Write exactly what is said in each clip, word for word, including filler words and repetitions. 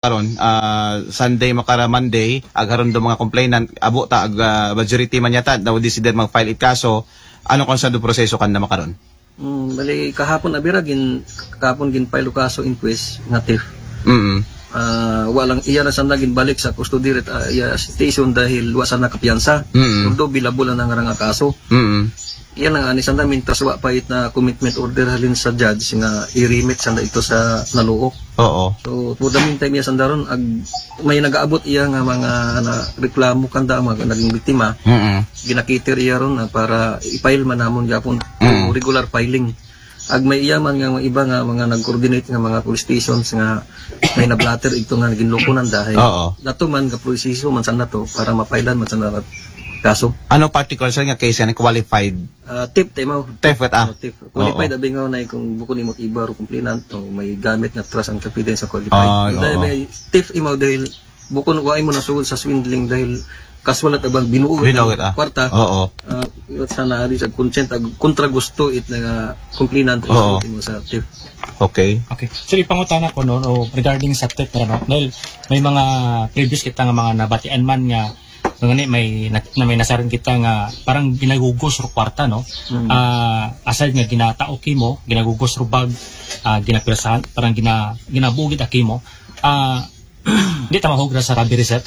karon, ah, Sunday makara Monday, ag harun do mga complainant, abo ta, ag, ah, majority man yata, daw di sila mag-file it kaso, ano kon sa do proseso kanda makaron? Mm, bali, kahapon, abira, gin, kahapon gin-file o kaso inquest nga theft. Mm. Ah, wa lang, iya na sanda ginbalik sa custody ret, ah, iya station dahil wa sanda kapiyansa. Mm. Although bailable na nga kaso. Mm. Iya na nga, ni sanda, mintras wa pa it na commitment order halin sa judge nga i-remit sanda ito sa naluok. Oo. So, for the meantime, iya sanda ron, ag, may nagaabot iya nga mga na reklamo kanda, mga naging biktima. Mm. Ginakiter iya ron na para i-file man namon gyapon Mm. regular filing. Ag may iya man nga mga iba nga mga nag-coordinate nga mga police stations nga may na-blotter ito nga ginloko nanda. Oo. Dato man nga proseso man sanda to para ma-filean man sanda kaso. Ano particular, sir, nga case nga qualified? Ah, theft, tama. Theft, ah. Ah, theft. Qualified, Oo. abi nga na kung bukon imo iba ro complainant, o may gamit nga trust and confidence sa qualified. Ah, Dahil oo. may theft imo dahil bukon wa imo nasugod sa swindling dahil casual at abang binuo Binuo, ah. kwarta. Oo. Ah, iwat sa naari sa consent, ag kontra gusto it nga complainant Oo. imo sa theft. Okay. Okay. So, ipangutana ko, no, no, regarding sa theft, no, dahil may mga previous kita nga mga nabatian man nga, nga ni may na, na may nasarin kita nga parang ginagugos ro kwarta, no? Mm. Ah, aside nga ginatao kimo, ginagugos ro bag, ah, ginapirsahan, parang gina, ginabugit akimo. Ah, di ta mahugra sa robbery, sir?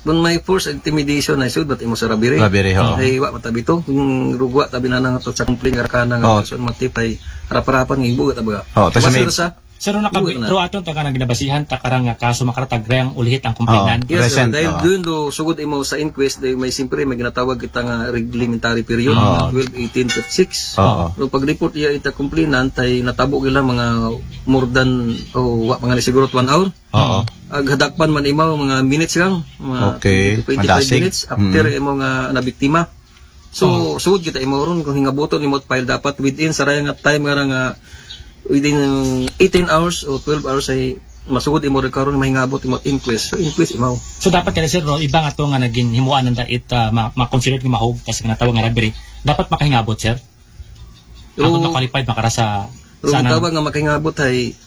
Kung may force intimidation na isud, bat imo sa robbery. Robbery, oo. Ay, wa matabi to. Kung rugwa tabi na nang to sa complaint nga rakana nga Oo. person matipay, harap-harapan nga ibuga tabaga. Oo, tas Basta may sa Sir, ro nakabi-, Buhay na. ro aton ta ka nang ginabasihan, ta karang nga kaso makaratag reyang ulihit ang complainant. Oo. Yes, sir. Present, Dahil oo. doon do sugod imo sa inquest, dahil may siyempre may ginatawag kita nga reglementary period, Oo. nga twelve, eighteen, thirty-six. Oo. So, pag-report iya ita complainant, ay natabo gila mga more than, o wa, mga siguro one hour. Oo. Ag hadakpan man imaw, mga minutes lang, mga Okay. twenty, twenty-five Madasig. minutes after Mm. imo nga nabiktima. So, Oo. sugod kita imo ron, kung hingabuton imo file dapat within sa raya nga time nga ra nga within eighteen hours o twelve hours ay masugod imo rin karon mahingabot imo inquest. So, inquest imo. So, dapat kada, sir, no, iba nga to nga naging himuan nanda it, ah, ma-, ma-consider nga mahog, tas nga natawag nga robbery. Dapat makahingabot, sir? Ako Oo. na qualified, makara sa, Pero sa ang anang tawag nga makahingabot ay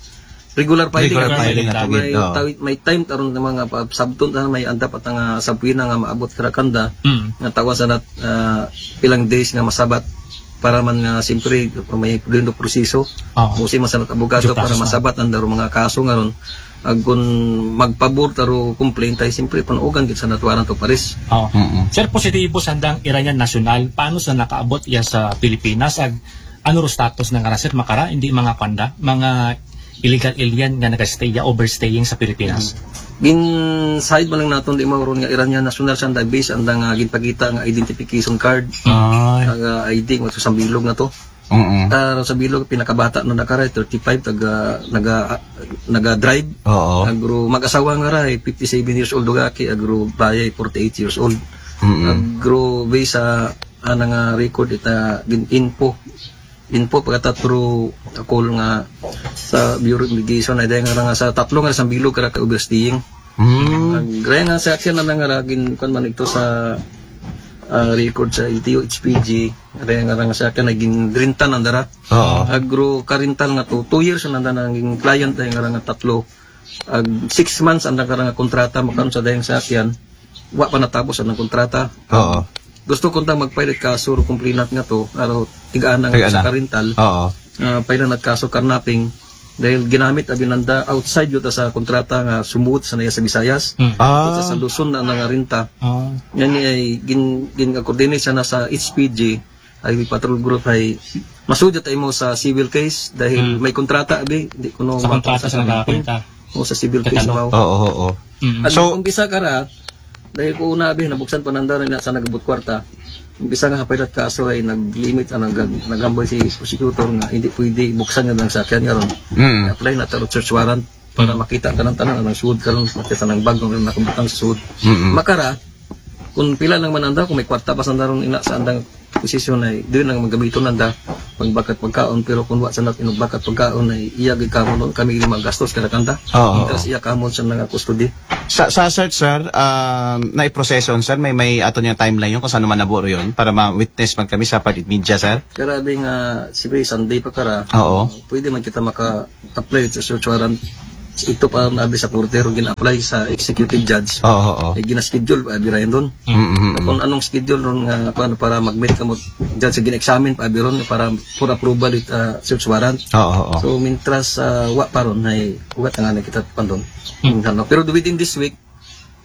regular filing Regular na filing filing na na tawag. may, Oo. tawi-, may time taron nga mga pa-, sabton na may andap at nga sabwina nga maabot kara kanda, Mm. nga tawa sa nat, ah, ilang days nga masabat para man nga siyempre may pwede proseso. Oo. Musi man sa nat abogado Due para process na. masabat ang daro mga kaso nga ron. Ag kun magpabor taro complaint ay siyempre panuogan gid sa natwaran to pares. Oo. Mm-mm. Sir, positibo sa handang Iranian national, paano sa nakaabot iya sa Pilipinas? Ag ano ro status na nga ra, sir, makara, hindi mga panda, mga illegal alien nga nagastay, overstaying sa Pilipinas? Mm. Gin-side man lang naton di mauron nga Iranian national siya, dahil based ang nga ginpakita nga identification card, Ay. nga I D, nga sa bilog na to. Mm-mm. Ah, sa bilog, pinakabata na nakara, thirty-five, taga, naga, naga-drive. Oo. Agro, mag-asawa nga ra, eh, fifty-seven years old, dugaki, agro, bayay, forty-eight years old. Mm-mm. Agro, based sa, ah, nga record, ita, gin-, info. Info, pagkatatro, call nga sa Bureau of Immigration, ay dahil nga nga sa tatlo nga sa bilog, kara ka overstaying. Mm. Ang gaya nga sa akin, na nga ra, gin-, kuwan man ito sa, ah, record sa L T O H P G, gaya nga ra nga sa akin, na ginrintan ang dara. Oo. Agro karintal nga to, two years na nanda naging client, dahil nga ra nga tatlo. Ag six months ang nagkara nga kontrata, makaron sa dayang sa akin, wa pa natapos ang kontrata. Oo. Gusto ko tang mag-file kaso ro complainant nga to, aro, tig-ana nga Tig-ana. sa karintal. Oo. Ah, file nagkaso karnaping, dahil ginamit abi nanda outside yuta sa kontrata nga sumuot sa naya sa Visayas. Hmm. Ah. Sa, sa Luzon na nangarinta. Ah. Yan ni ay gin, gin-coordinate siya na sa H P G, Highway Patrol Group ay masugod tayo mo sa civil case dahil Hmm. may kontrata abi, di ko no Sa kontrata sa nagkakwenta. O sa civil case Katalo. Mo. Oo, oo, oo. Mm. At So, umpisa kara, dahil ko una abi, nabuksan pa nanda rin na sa nagabot kwarta. Umpisa nga hapay at kaso ay nag-limit ang nag-, nagamboy si prosecutor nga hindi pwede buksan nga ng sakyan nga ron. Mm. Apply na taro search warrant para Mm. makita ka ng tanan, ang sud ka ron, makita ng bag nga nakabutang sa sud. Mm-mm. Makara, kung pila lang man anda, kung may kwarta pa sa nanda ron ina sa andang posisyon ay, doon lang magamiton nanda, pangbakat pagkaon, pero kung wa sa nat inugbakat pagkaon ay, iya gid kamo nun, kami gid magastos kada kanta. Oo. Tapos iya kamo sa mga custody. Sa, sa search, sir, um, na iproseso, sir, may, may ato niya timeline yun kung saan manabo yun para ma-witness man kami sa part media, sir? Grabe nga, sige, Sunday pa kara. Oo. Pwede man kita maka-apply sa search warrant. Ito pa ang abi sa korte, ron gina-apply sa executive judge. Oo, oo. Eh, gina-schedule pa abi ron. Mm, mm, mm. Kung anong schedule ron nga, kuwan, para mag-meet kamo judge, gina-examine pa abi ron para for approval it, ah, search warrant. Oo, oo. So, mintras, ah, wa pa ron, ay, wa ta nga nakita pa ron. Hmm. Ano, pero within this week,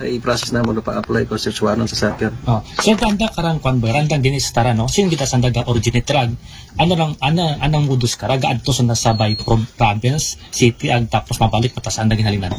ay i-process namo na pa-apply ko search warrant sa sakyan. Oh. So, kanda karang kwan ba, randang dinis tara, no? Sin kita sanda ga-originate rag, ano lang, ano, anong modus kara, gaadto sanda sa by pro-, province, city, ag tapos mabalik, mata sanda ginhalinan?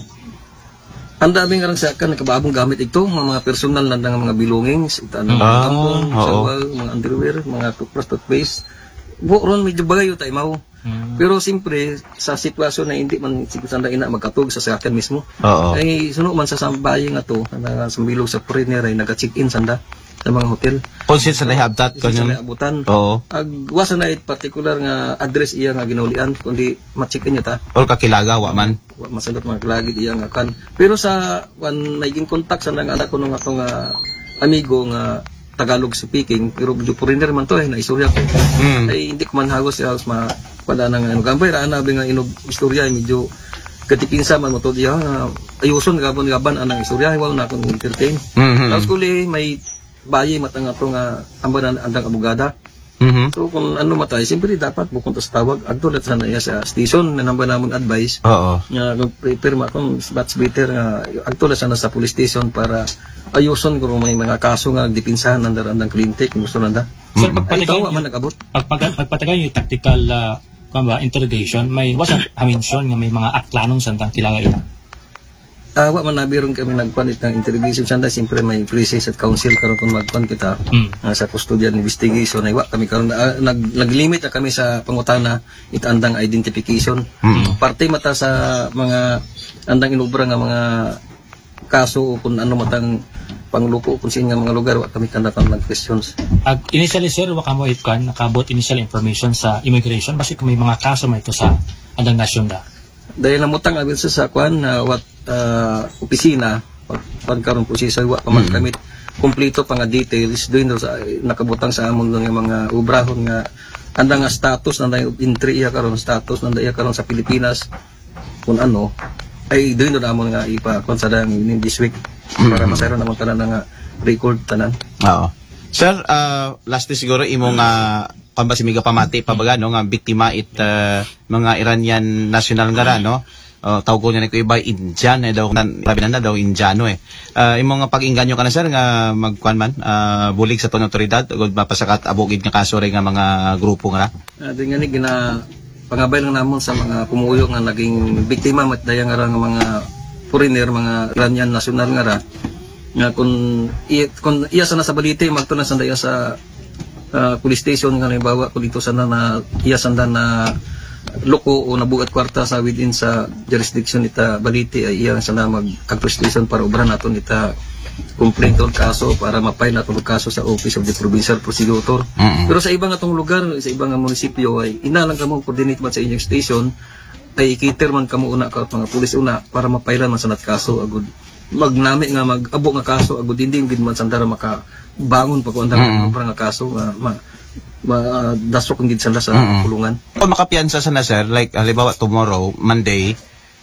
Anda abi nga rang sakyan, nakabaabong gamit ito, mga, mga personal na nga mga belongings, ita na mga Ah, tampon, oo. Sawa, mga underwear, mga toothbrush, toothpaste. Buo ron, medyo bagay yung taimaw. Mm. Pero siyempre, sa sitwasyon na hindi man siguro sanda ina magkatog sa sakyan mismo. Oo. Ay, suno man sa sambahay nga to, na sambilog sa foreigner ay nag-check-in sanda sa mga hotel. Kung saan sila ihabtat, Kung saan kanyang sila abutan. Oo. Ag, wa sanda it particular nga address iya nga ginaulian, kundi ma-check-in niya ta. Or kakilaga, wa man. Wa masagot mga lagi iya nga kan. Pero sa, wan, may ginkontak sa nang anak ko nung atong, ah, amigo nga Tagalog speaking, pero medyo foreigner man to eh, naistorya ko. Mm. Ay, hindi ko man hagos, eh, hagos ma-, wala nang ano, gambay, raan na, nga inog istorya, eh, medyo katipinsa man mo to diya, nga ayuson, gabon, gaban, anang istorya, wala na akong entertain. Mhm. Tapos kuli, may bayi, matang ato nga, amba na, andang abogada. Mhm. So, kung ano matay, siyempre dapat bukon to sa tawag, agto lang sana iya sa station, nanamba namon advice. Oo. Nga, kung prepare ma, kung much better nga, agto lang sana sa police station para ayuson kung may mga kaso nga dipinsahan nanda, andang kliyente, kung gusto nanda. Sir, Mm. Ay, pagpatagay tawa niyo, man nag-abot. Pagpag-, pagpatagay niyo tactical, ah, kung ba, interrogation, may wasa mention nga may mga aklanon sa andang kilaga ila. Ah, wa man nabiron kami nagkuan itang interrogation sanda, siyempre may process at counsel karon kung magkuan kita, Mm. ah, sa custodial investigation ay wa kami karon, ah, nag, nag-limit na kami sa pangutana it andang identification. Mm. Parte mata sa mga andang inubra nga mga kaso o kung ano matang pangluko kung saan nga mga lugar, wa kami kanda pang questions. Ag initially, sir, wa kamo itkuan, nakabot initial information sa immigration, basi kung may mga kaso may ito sa andang nasyon da. Dahil namutang abi sa, sa kuan, ah, what, ah, opisina, pag, pag karon po siya, wa pa man Mm. kami kompleto pa nga details, doon sa, nakabutang sa amon nga mga obrahon nga, anda nga status, anda yung entry iya karon, status, anda iya karon sa Pilipinas, kung ano, ay doon na amon nga ipa, kung sa dang in this week, para Mm. masayro naman tanan nga record tanan. Oo. Sir, ah, lastly siguro, imo nga, kung ba si Miga pamati, pabaga, no, nga biktima it, ah, mga Iranian national nga ra, no? Oh, tawag ko niya na ko iba, Indian, eh, daw, nan-, labi na na daw, Indiano, eh. Ah, imo nga pag-inganyo ka na, sir, nga magkuan man, ah, bulig sa tong otoridad, ug mapasakat abugid nga kaso rin nga mga grupo nga na? Ah, di nga ni gina-, pangabay lang namon sa mga pumuyo nga naging biktima, mat daya nga ra nga mga foreigner, mga Iranian national nga ra. Nga kung i-, kung iya sana sa balite, magto na sanda iya sa, ah, police station, nga halimbawa, kung dito sana na, iya sanda na loko o nabugat kwarta sa within sa jurisdiction ita balite, ay iya sana mag-, ag police station para obra naton ita complaint o kaso para ma-file naton og kaso sa Office of the Provincial Prosecutor. Mm-mm. Pero sa iba nga tong lugar, sa iba nga munisipyo, ay ina lang kamo coordinate man sa inyong station, ay ikiter man kamo una ka mga pulis una para mapailan man sa nat kaso agud magnami nga mag-abo nga kaso agud hindi gid man sandara makabangon pa ko andang Mm. obra nga kaso nga ma, ma dasok gid sanda sa Mm. kulungan. Kung makapiyansa sana, sir, like, halimbawa, tomorrow, Monday,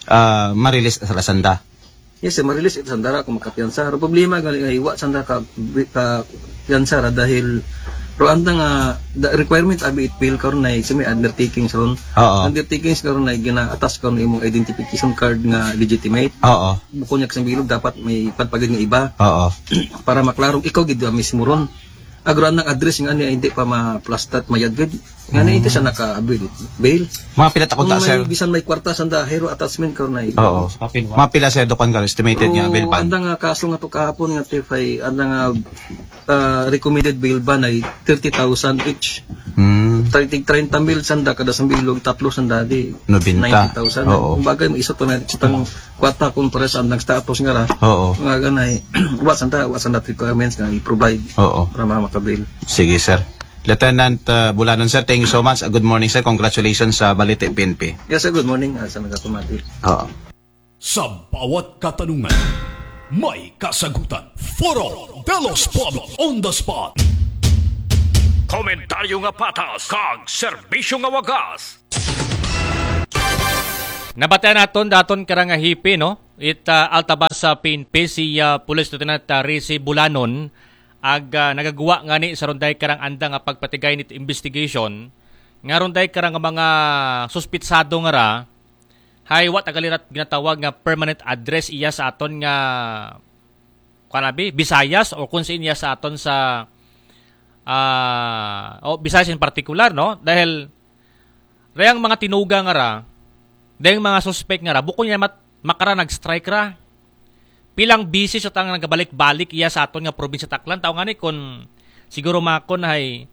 ah, ma-release sa sanda. Yes, sir, ma-release ito sandara kung makapiyansa. Ang problema gali nga iwa sanda ka, ka piyansa ra dahil pero ang nga the requirement abi it bail karon na sa may undertakings ron. Oo. Undertakings karon na gina-attach karon imong identification card nga legitimate. Oo. Bukon niya kasang bilog, dapat may pagpagid nga iba. Oo. Para maklarong ikaw gid ang mismo ron. Agro ang address nga niya hindi pa ma-plastat mayad gid. Nga na ito siya naka-bail. Bail. Mga pila takon Kung ta, may sir? Bisan may kwarta sanda, hero attachment karon na ito. Oo. Sa papel, wa? Mga pila, sir, dukan ka, estimated nga, Pero bail bond? Anda nga kaso nga to kahapon nga T F I, anda nga, ah, recommended bail bond ay thirty thousand each. Hmm. Thirty, thirty mil sanda, kada sambilog, tatlo sanda, di Nobenta. Ninety thousand. Oo. Kumbaga, may isa to na, sa tang kwata kung pares ang nag-status nga ra. Oo. Nga ganay, wa sanda, wa sanda requirements nga i-provide Oo. Para mga makabail. Sige, sir. Lieutenant, uh, Bulanon, sir, thank you so much. Uh, good morning, sir. Congratulations sa Balite P N P. Yes, sir. Good morning. Uh, sa nagapamati. Oo. Sa bawat katanungan, may kasagutan. Foro de los Pueblos on the spot. Komentaryo nga patas, kag serbisyo nga wagas. Nabatian naton daton karang nga hepe, no? It ah, Altabas sa P N P, si ah, Police Lieutenant ah, Rizy Bulanon, ag ah, nagagwa ngani sa ron daay karang andang nga pagpatigay nit investigation, nga ron daay karang mga suspitsado nga ra, hay wa ta gali rat ginatawag nga permanent address iya sa aton nga, kuan abi, Visayas o kung saan iya sa aton sa ah, o Visayas in particular, no? Dahil dayang mga tinuga nga ra, dayang mga suspect nga ra, bukon niya mat makara nag-strike ra. Pilang beses sa tang nagabalik-balik iya sa aton nga probinsya Aklan. Tao ngani kun siguro makon hay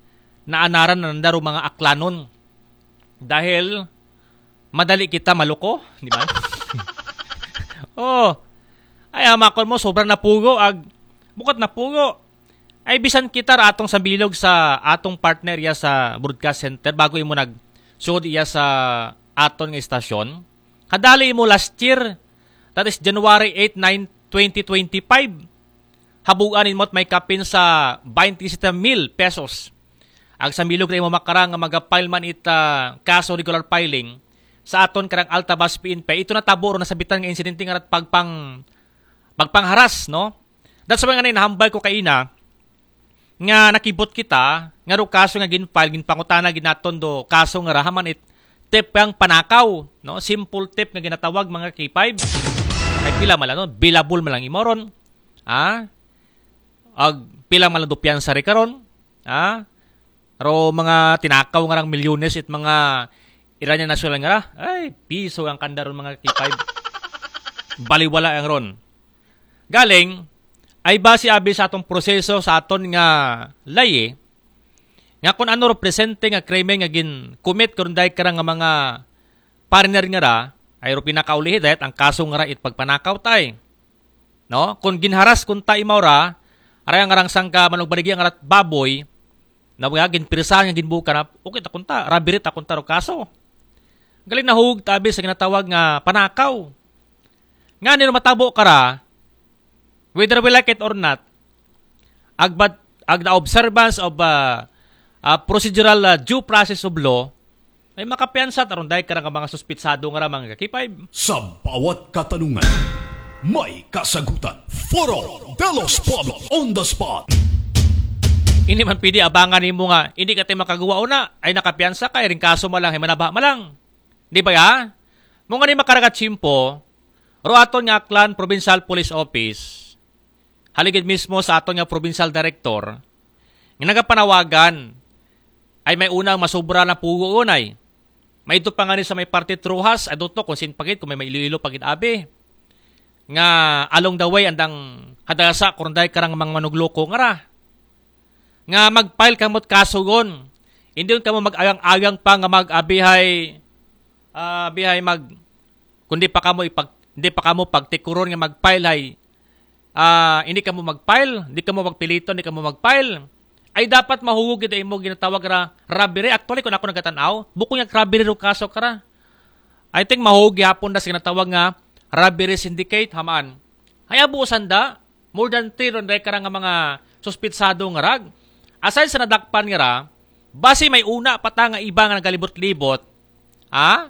naanaran na nanda ro mga Aklanon. Dahil madali kita maluko, di ba? Oh. Ay, amakon mo, sobra na pugo, ag, bukat na pugo. Ay, bisan kita ra atong sambilog sa atong partner iya sa broadcast center bago imo nag-, sud iya sa aton nga istasyon. Kadali imo last year, that is January eight, nine, twenty twenty-five. Habugan imo't may kapin sa twenty-seven mil pesos. Ag sambilog ra imo makara nga maga-file man it ah, kaso regular filing sa aton karang Altabas P N P. Ito natabo ro nasabitan nga insidente nga rat pagpang-, pagpangharas, no? That's why nga nahambal ko kaina nga nakibot kita nga ro kaso nga gin-file, ginpangutana gid naton do kaso nga ra haman it tip kang panakaw, no? Simple tip nga ginatawag mga K five. Ay pila man lang, no? Billable man lang imo ron. Ha? Ag pila man lang do piyansa ri karon? Ha? Ro mga tinakaw nga rang milyones it mga Iranian national nga ra. Ay, piso ang kanda ron mga K five. Baliwala ang ron. Galing, ay base abi sa atong proseso sa aton nga laye, nga kung ano ro presente nga krimen nga gin-commit karon dahil karang nga mga partner nga ra, ay ro pinakaulihi dahil ang kaso nga ra it pagpanakaw tay. No? Kung ginharas kung tay imaw ra, aray ang arang sangka manugbarigi ang arat baboy, na mga ginpirisahan nga ginbuka na, okay ta kunta, robbery ta kunta ro kaso. Galing nahug tabi sa ginatawag nga panakaw. Nga nino matabo ka ra, whether we like it or not, agbat, ag the observance of uh, uh, procedural uh, due process of law, ay makapiyansa taron dahil karang mga suspitsado nga ra mga K five. Sa bawat katanungan, may kasagutan. Foro de los Pueblos on the spot. Hindi man pwede abangan nimo nga hindi ka tayo makagawa una, ay nakapiyansa ka, iring kaso malang, ay manaba malang. Di ba ya? Mo nga ni makaragat simpo, ro aton nga Aklan Provincial Police Office, haligid mismo sa aton nga Provincial Director, nga nagapanawagan, ay may unang masubra na pugo unay. May ito pa nga ni sa may parte Trujas, I don't know kung sin pagit, kung may, may Iloilo pagit abi. Nga along the way, andang hadasa, kung dahil karang mga manugloko nga ra. Nga mag-file kamot kaso gon. Hindi yun kamo mag-agang-agang pa nga mag-abihay, ah, abihay mag, kundi pa kamo ipag, hindi pa kamo pagtikuron nga mag-file hay, ah, hindi kamo mag-file, hindi kamo magpilito, hindi kamo mag-file. Ay dapat mahugog ito imo ginatawag ra robbery. Actually, kung ako nagkatanaw, bukon yung robbery ro kaso ka ra. I think mahugog gihapon da sa ginatawag nga robbery syndicate, hamaan. Ay abusan da, more than three ron dahil karang nga mga suspitsado nga rag. Aside sa nadakpan nga ra, basi may una pa ta nga iba nga nagalibot-libot. Ha?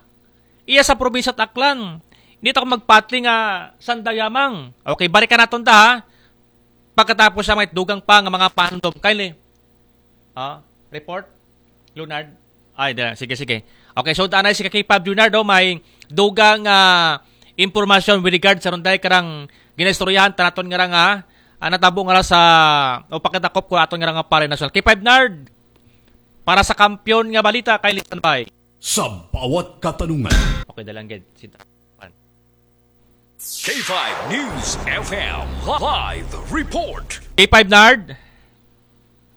Iya sa probinsya Aklan. Hindi ta ko magpatli nga sandayamang. Okay, balikan naton ta ha. Pagkatapos sa may dugang pa nga mga pandom. Kindly. Ah, report? Leonard? Ay, da, sige, sige. Okay, so tanay si Kakipab Leonardo, may dugang ah, impormasyon with regard sa runday karang ginaistoryahan tanaton nga ra nga ah, natabo nga ra sa o pakitakop ko aton nga ra nga pare nasyonal. K five Nard, para sa kampiyon nga balita kay standby. Sa bawat katanungan. Okay, dalangged. Sit- K five News F M live report. K five Nard.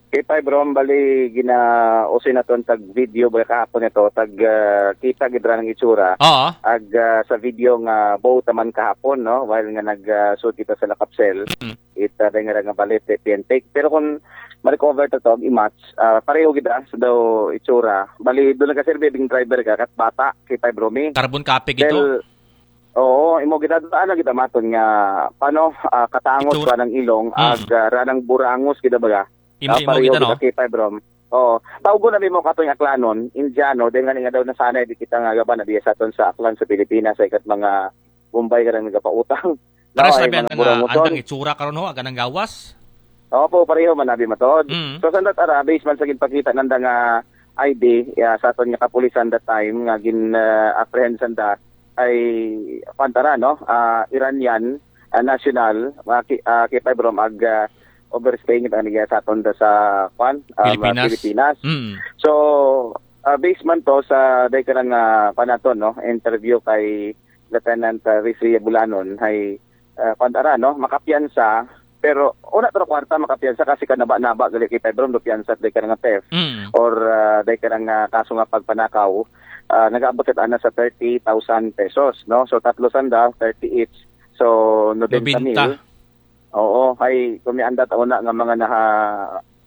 K five Rom, bali ginausoy naton tag video ba kahapon ito, tag ah, kita gid ra ng itsura. Oo. Ag ah, sa video nga both taman kahapon, no, while nga nag ah, shoot kita sa Lakapsel, Mm. ita uh, nga nga bali P N take. Pero kung ma-recover ta to, ag i-match, ah, pareho gid ah, sa daw itsura. Bali doon nagkaserve ding driver ka kat bata, K five Romy. Carbon copy gito. Dahil, oo, imo gid ah, ano gid ah, maton nga paano ah, katangos Itsura. Pa ng ilong Mm. ag ah, ranang burangos gid ah, baga. Imo Ah, imo pareho gid ano. gid ah, K five Rom. Oo. Tawgon na mo kato nga Aklanon, Indiano, dahil nga nga daw nasanay di kita nga gaba na biya sa aton sa Aklan sa Pilipinas, ay kat mga Bombay ka rin nagapautang. Pares No, ay labi mga nga burang-uson. Andang itsura karon ho, aganang gawas. Opo, pareho man abi matod. Mm. So sa that ara, based man sa ginpakita nanda nga I D, ya, sa aton nga kapulisan that time nga gin uh, apprehend sanda ay pantara, no? Ah, Iranian ah, national, uh, ki, uh, K five Rom ag ah, overstaying ito niya sa aton da sa kwan, um, Pilipinas. Pilipinas. Mm. So, uh, based man to sa day ka nga panaton, no, interview kay Lieutenant uh, Rizzi Bulanon, ay uh, pantara, no, makapiyansa, pero una to kwarta makapiyansa kasi kanaba-naba gali kay Pedro do piyansa day ka nga theft Mm. or uh, day ka nga kaso nga pagpanakaw, uh, nag-abot sa ana sa thirty thousand pesos, no? So tatlo sanda, thirty each. So nobenta mil. Nobenta. Oo, kay kumianda ta una nga mga naha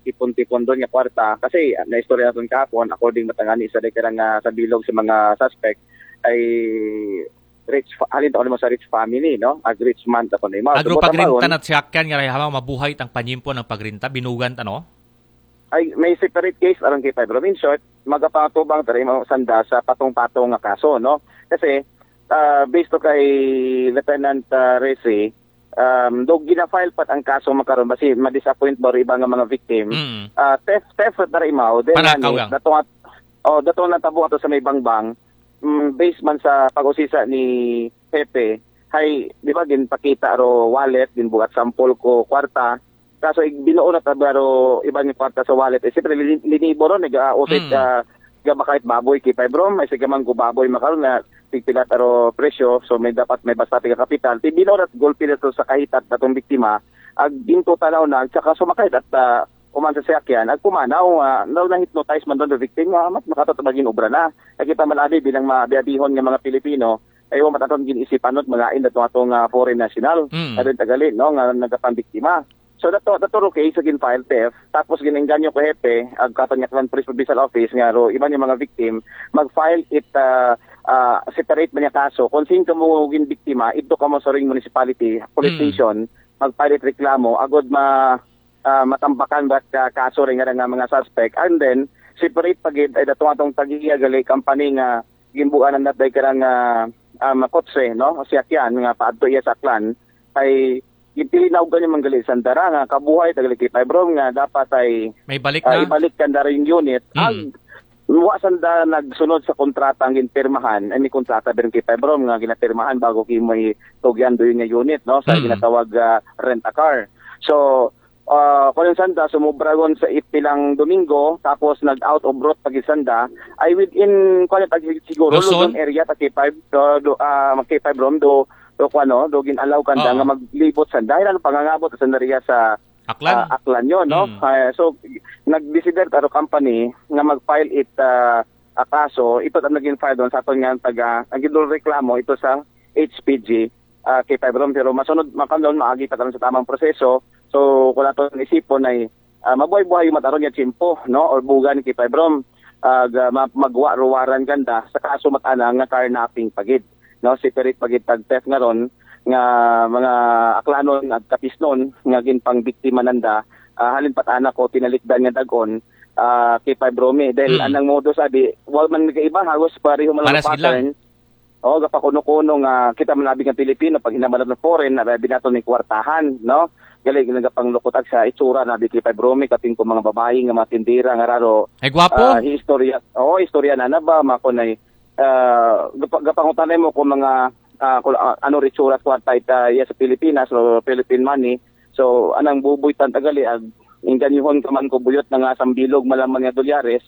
tipon-tipon doon nga kwarta kasi ah, naistorya naton kahapon, according matangani sa day ka nga sa bilog sa mga suspect ay rich fa- halin ta mo sa rich family, no? Ag rich man ta kuno mo. Agro pagrinta na siyakyan nga rayhama mabuhay tang panyimpo ng pagrinta binugan ta, no? Ay may separate case aron kay Pedro. In short, magapatubang ta mo sanda sa patong-patong nga kaso, no? Kasi ah, based to kay Lieutenant uh, Resi, um, do gina-file pat ang kaso makaron basi ma-disappoint ba ro iba nga mga victim. Mm. Ah, theft theft na imaw, then Panakaw nani, lang. Dato at oh, dato na tabo ato sa may bangbang. Mm, based man sa pag-usisa ni Pepe, hay di ba ginpakita ro wallet, ginbuhat sample ko kwarta. Kaso ig binuo na tabaro iba ni kwarta sa wallet. Eh, siyempre lini- linibo ron, nag uh, usit Mm. uh, gaba kahit baboy kay Pibrom, ay sige man ko baboy makaron na tigpila taro presyo, so may dapat may basta tiga kapital. Ti binuo na gulpi na to sa kahitat natong biktima, ag ginto tanaw na, at saka sumakay at uh, uman sa siyakyan, ag pumanaw, uh, na na-hypnotize man doon the victim, nga mas makatot maging obra na. Nakita man abi bilang mabiabihon nga mga Pilipino, ay wa mataton gin-isipan not mga inda to atong uh, foreign national. Mm. Adon tagali, no, nga nagapambiktima. So dato dato ro case sa gin-file theft, tapos ginengganyo ko hepe, ag katon nga Aklan Police Provincial Office nga ro iban yung mga victim, mag-file it uh, uh, separate man yung kaso. Kung sino kamo gin biktima, ito kamo sa ring municipality, police Mm. station, mag-file it reklamo, agod ma uh, matambakan ba ka kaso ring nga mga suspect, and then separate pagid ay dato atong tagiya gali company nga gimbuan ang natay karang uh, um, kotse, no? Siyakyan nga paadto iya sa Aklan ay gintilinawgan yung manggali sandara nga kabuhay tagali kay Pibrom nga dapat ay May balik uh, na. Ibalik kan dara yung unit. Mm. Ag wa sanda nagsunod sa kontrata ang ginpirmahan, ay may kontrata din kay Pibrom nga ginapirmahan bago kay may tugyan doon nga unit, no? Sa Mm. Ginatawag uh, rent a car. So, uh, kung sanda sumubragon sa ipilang Domingo, tapos nag-out of route pag sanda, ay within, kung ano, tag- siguro, Luzon? Luzon area, ta K five, do, do, uh, K five Rom, do, do, kung ano, do, gin-allow kanda Oo. nga maglibot sanda. Ay, ano, pangangabot sanda riya sa Aklan. ah, Aklan yun, no? Mm. Ah, so, nag-desider taro company nga mag-file it ah, a kaso, ito ang naging file doon sa aton nga taga, ang gidul reklamo ito sa H P G ah, kay Pibrom, pero masunod, makanon, maagi pa tayo sa tamang proseso. So, kung nato isipon ay ah, mabuhay-buhay yung mataron nga tiyempo, no? Or bugan kay Pibrom, ah, ga- ma- magwa-ruwaran ganda sa kaso matana nga carnapping pagid, no? Separate pagid tag theft nga ron nga mga Aklanon at Kapisnon nga ginpangbiktima nanda, ah, halin pat anak ko tinalikdan nga dagon ah, kay Pibromi. Dahil Mm. anang modus abi, wal man nagkaiba, halos pareho man ang Pares gid lang. pattern. O, gapakuno-kuno nga kita man abi nga Pilipino, pag hinaman natin foreign, na abi nato ni kwartahan, no? Gali nagapanglukot ag sa itsura na abi kay Pibromi, kaping ko mga babae nga mga tindera nga raro. Ay, gwapo. Ah, istorya, oh, istorya na na ba, mako na ah, gapa- gapangutanay mo kung mga ah, kung ah, ano ritsura at kwarta ita iya sa Pilipinas o Philippine money. So, anang buboy tan tagali ag ingganyuhon ka man ko buyot na nga sambilog malaman nga dolyares.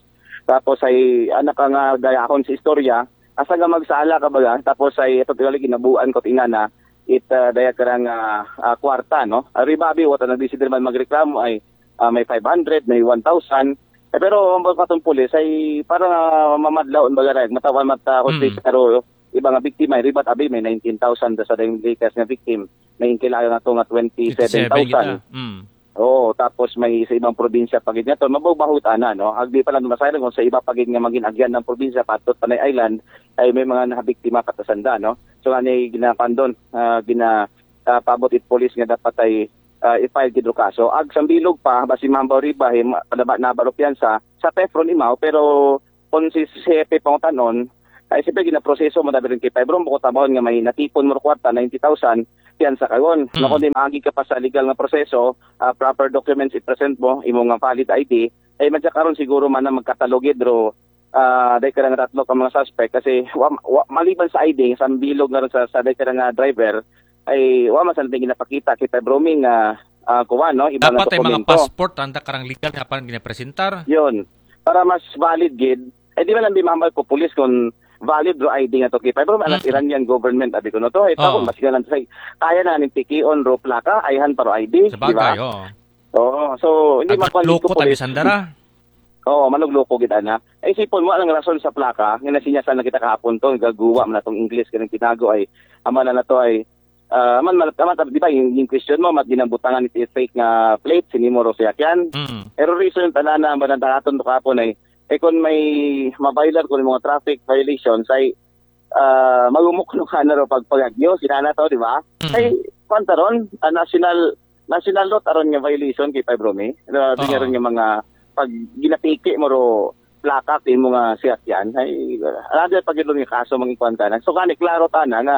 Tapos ay anak ka nga dayahon sa istorya. Asa nga magsala ka baga? Tapos ay ito tagali ginabuan ko tingana it ah, daya ka nga ah, kwarta, no? Ari babi, wata nagdesider man magreklamo ay ah, may five hundred, may one thousand. Eh, pero ang mga katong pulis ay parang ah, mamadlaw ang baga na, matawan mata Mm. Pero iba nga biktima, ribat abi may nineteen thousand sa dayong latest nga victim. May kailangan na to nga Twenty-seven twenty-seven thousand. kita. Mm. Oo, tapos may sa ibang probinsya pagid niya to, mabawbahut ana, no? Agdi pa lang masayang kung sa iba pagid nga maging agyan ng probinsya, patot Panay Island, ay may mga nabiktima katasanda, no? So, ani ginapandon, ah, gina ah, paabot it police nga dapat ay ah, i-file gid ro kaso. Ag sambilog pa, basi mahambaw riba, hi ma-, naba-, nabaro piyansa, sa Tefron imaw, pero kon si Sepe pangutanon, ay siyempre ginaproseso mo dabirin kay Febron, bukod tamahon nga may natipon mo kwarta, ninety thousand, piyansa karon. Mm. No, kundi maagi ka pa sa legal nga proseso, ah, proper documents i-present mo, imo nga valid I D, ay madya karon siguro man na magkatalogid ro, ah, dahil ka nga tatlo ka mga suspect kasi wa, wa, maliban sa I D, sa bilog nga ron sa, sa dahil ka nga driver, ay wa man sa natin ginapakita kay Febron nga, ah, kuwan, no? Iba nga Dapat ay mga dokumento. Passport, anda karang legal nga parang ginapresentar. Yun. Para mas valid gid, eh di man lang di mahambal ko pulis kung valid ro I D nga to kay Febron, anak Mm. Iranian government, abi ko no to. Eh, Oo. Mas nga lang say, kaya na ning tikion ro plaka, ayhan pa ro I D, di ba? Sabagay, oo. Oo. So, hindi Ag makuha loko ko tabi pulis. Sandara. Oo, manugloko gid ana. Ay, isipon mo, ang rason sa plaka, nga nasinyasan na kita kahapon to, gaguwa man atong English, kanang tinago ay, ama na na to ay, ah, man, man, man, di ba, yung, yung question mo, mat ginambutangan ni fake nga plate, sinimo ro siya yan. Mm. Pero reason, tanana, ang banandahaton to kahapon ay, eh, kung may ma-violate ko ng mga traffic violations, ay, ah, magumok no ka na ro pagpagagyo, sinana to, di ba? Mm. Ay, kwan ta ron, ah, national, national law, aron nga violation kay Febron, eh. Uh, Oo. Ron nga mga, pag ginapiki mo ro, plaka, kay mo nga siya yan, ay, another pag nga kaso, mga kwan ka na. So, kani, klaro ta na nga,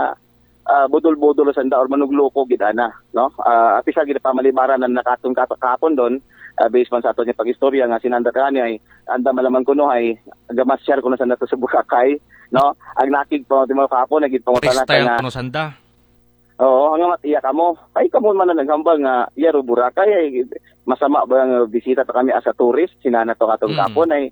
ah, budol-budol sa nda or manugloko gid ana, no? Ah, at isa gid pamalibaran na nakaton ka kahapon doon, ah, based man sa ato niya pag-istorya nga sinanda kani ay anda malaman kuno ay gamasyar kuno sa nato sa Boracay, no? Ang nakig pa mo kahapon, naging pangutana Freestyle nga, kuno sanda. Oo, nga matiya kamo. Ay, kamo man na naghambal nga, iya ro Boracay, ay, masama ba nga bisita ta kami as a tourist? Sinana to katong Mm. kapon ay,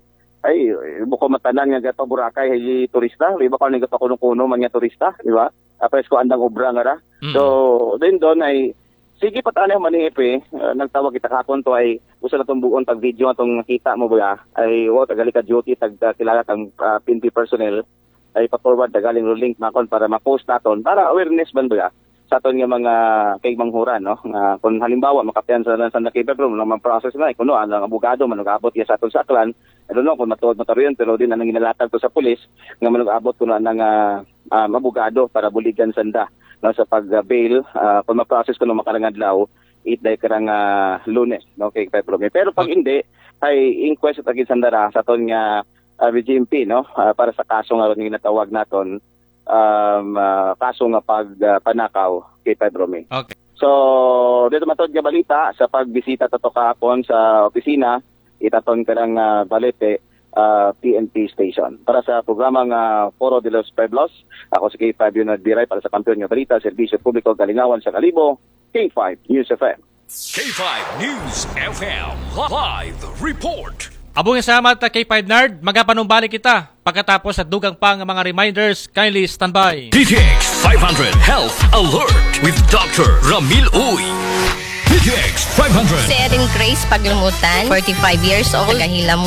ay, buko matanan nga gapa Boracay, ay turista. Iba ka nga gapa kuno-kuno man nga turista, di ba? Apres ko andang obra nga ra. Mm. So, then doon ay, sige pa tayo maniip eh. Uh, nagtawag kita kapon to ay, usa na tong buon pag video atong nakita mo ba? Ay, wow, tagali ka duty, tag, uh, kilala kang uh, P N P personnel. Ay, pa-forward, tagaling ro link makon para ma-post naton, para awareness man ba? Sa aton nga mga kay manghuran, no? Nga kung halimbawa, makapiyansa na sa nakita, pero mga process na, kuno, ang abogado, manugabot ya sa aton sa Aklan, I don't know kung matuod mataruyon, pero din anang ginalatag to sa pulis, nga manugabot kuno anang, ah, ah, abogado para buligan sanda, no, sa pag-bail, ah, kung ma-process kuno makarang adlaw, it day karang, ah, Lunes, no, kay Febron. Pero pag hindi, ay inquest at agin sandara sa aton nga, ah, B G M P, no, ah, para sa kaso nga ron nga ginatawag naton, um, ah, kaso nga pag, ah, panakaw kay Febron. Okay. So, dito matod nga balita sa pagbisita tato kahapon sa opisina, itaton ka ng, ah, Balete, ah, P N P station. Para sa programa nga Foro de los Pueblos, ako si K five Leonard Biray para sa Kampiyon nga Balita, Serbisyo Publiko, Kalingawan sa Kalibo, K five News F M. K five News F M live report. Abong salamat, K five Nard. Magapanumbalik kita pagkatapos sa dugang pang mga reminders. Kindly standby. D T X five hundred Health Alert with Doctor Ramil Uy. D T X five hundred. Si Erin Grace Paglumutan, forty-five years old, taga Hilam.